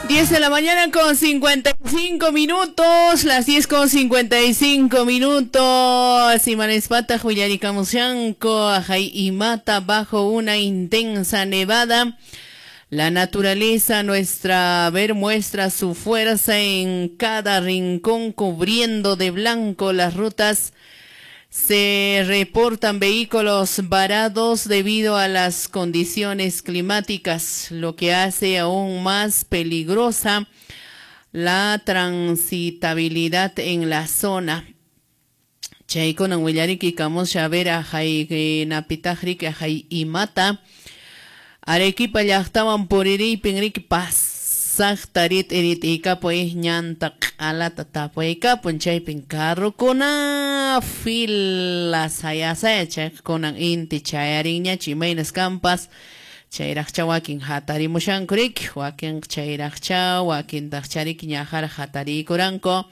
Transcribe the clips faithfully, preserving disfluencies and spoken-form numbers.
diez de la mañana con cincuenta y cinco minutos, las diez con cincuenta y cinco minutos. Imanespata Julianicamushanco, Ajay y Mata bajo una intensa nevada. La naturaleza, nuestra ver, muestra su fuerza en cada rincón, cubriendo de blanco las rutas. Se reportan vehículos varados debido a las condiciones climáticas, lo que hace aún más peligrosa la transitabilidad en la zona. Chaykunan willariki kamusha vera hay napitajriki hay imata Arequipa llaqtawan puririypin riki pasaqta rit irit'iykapuy ñanta q'alata tapuykapun chaypin carrokuna fila sayasaya chaykunan inti chayarinñachu imaynas kanpas chayraqcha wakin hatarimushanku riki wakin chayraqcha wakintaqcha riki ñaqara hatariykuranku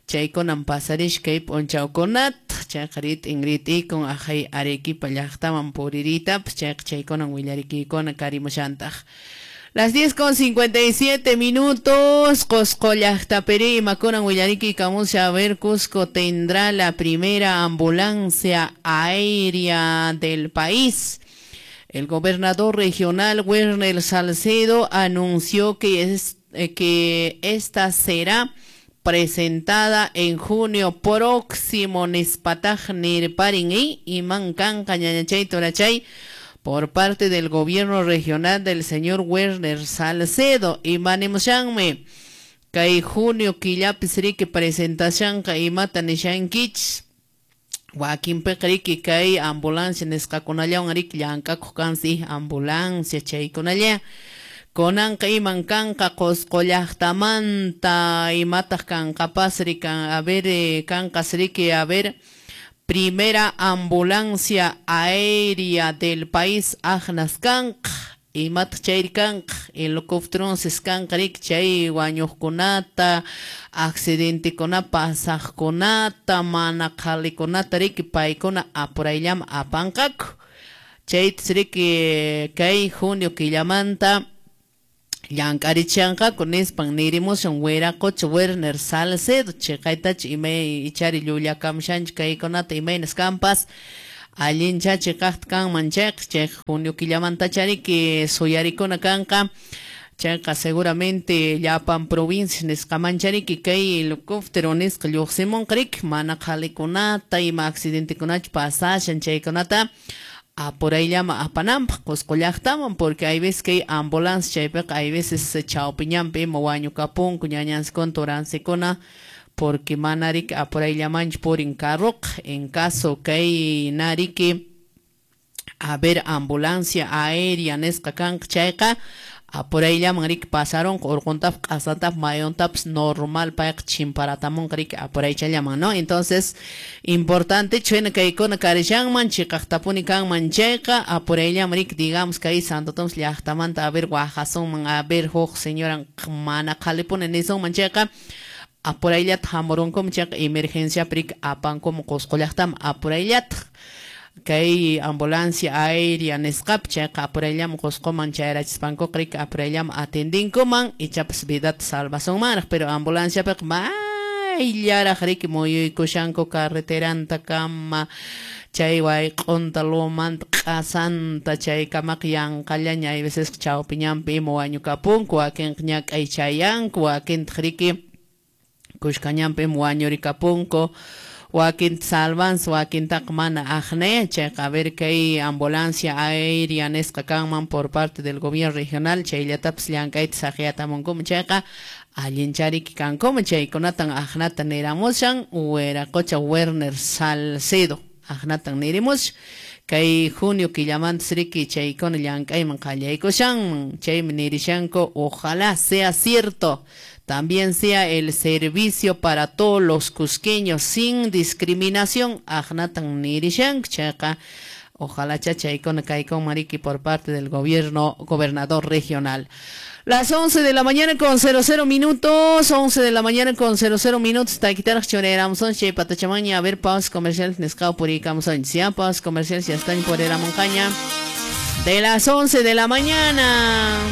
chaykunan pasarishkay p'unchawkunata chayqa rit'in rit'ikun ajay Arequipa llaqtaman puririytapas chayqa chaykunan willarikiykuna karimushantaq. Las diez con cincuenta y siete minutos, Cusco llaqtapiri imakunan willarikiykamusha a ver, Cusco tendrá la primera ambulancia aérea del país. El gobernador regional Werner Salcedo anunció que, es, eh, que esta será presentada en junio próximo nispataj nirparin y imankanqa ñañachay torachay por parte del gobierno regional del señor Werner Salcedo. Imanemushanme kay junio killapis riki presentacionka imata nishankich wakinpiqa riki kay ambulancia nisqakunallawan riki llank'akuq kansi ambulancia chaykunalla kunanqa iman kanqa Qusqu llaqtamanta imataq kanqapas riki a ver kanqas riki a ver primera ambulancia aérea del país aqnas kanqa imataq chayri kanqa helicópteronsis kanqa riki chay wañuqkunata accidentekuna pasaqkunata mana qhalikunata riki paykuna apurayllaman apanqaku chaytas riki kay junio killamanta llank'arichanqaku nispan nirimushan wiraqocha Werner Salcedo chiqaytachu imay ichari llullakamushanchu kaykunata imaynas kanpas allincha chiqaqta kanman chayqa chayqa junio killamanta riki suyarikuna kanqa chayqa seguramente llapan provincias nisqamancha riki kay helicóptero nisqa lluqsimunqa riki mana qhalikunata ima accidentekunachu pasashan chaykunata apurayllama apananpaq Qusqu llaqtaman porque hay veces que hay ambulancia chaypiqa hay veces chawpiñanpi ima wañukapunku ñañansikuna turansikuna porque mana riki apurayllamanchu purin carroqa en caso kay nariki a ver ambulancia aérea nisqa kanqa chayqa apurayllaman riki pasarunqa urquntapas q'asantapas mayuntapas normal payqa chimparatamunqa riki apuraychallaman, ¿no? Entonces importante chayna kaykuna karishanman chiqaqtapuni kanman chayqa apurayllaman riki digamos kay Santo Tomás llaqtamanta a ver wahasunman a ver huk señora mana qhalipuni nisunman chayqa apurayllata hamurunkuman chayqa emergenciapi riki apankuman Qusqu llaqtaman apurayllata kay ambulancia aérea nisqapi chayqa apurayllaman Qusquman chayrachispankuqa riki apurayllaman atendinkuman ichapas vidata salvasunmanraq pero ambulanciapiqa mayllaraq riki muyuykushanku carreteranta kama chay wayq'unta lumanta q'asanta chaykamaqa yanqallaña hay veces chawpiñanpi ima wañukapunku wakinqa ñak'ay chayanku wakintaq riki kushkañanpi ima wañurikapunku wakinta salvansi wakintaqa mana aqnaya chayqa a ver kay ambulancia aérea nisqa kanman por parte del gobierno regional chayllatapis llank'ayta saqiyatamunkuman chayqa allinchariki kankuman chaykunatan aqnata niramushan wiraqocha Werner Salcedo aqnatan nirimushan kay junio killamantas riki chaykuna llank'ayman qallaykushanman chaymi nirishanku ojalá sea cierto también sea el servicio para todos los cusqueños sin discriminación aqnatan nirishanku chayqa ojalá chachaykuna kaykunman riki por parte del gobierno gobernador regional. Las once de la mañana con cero cero minutos, once de la mañana con cero cero minutos, taquitaraq churayramusun chay patachamaña a ver pausas comerciales nisqaw puriykamusun ya pausas comerciales ya están por Eramoncaña de las once de la mañana.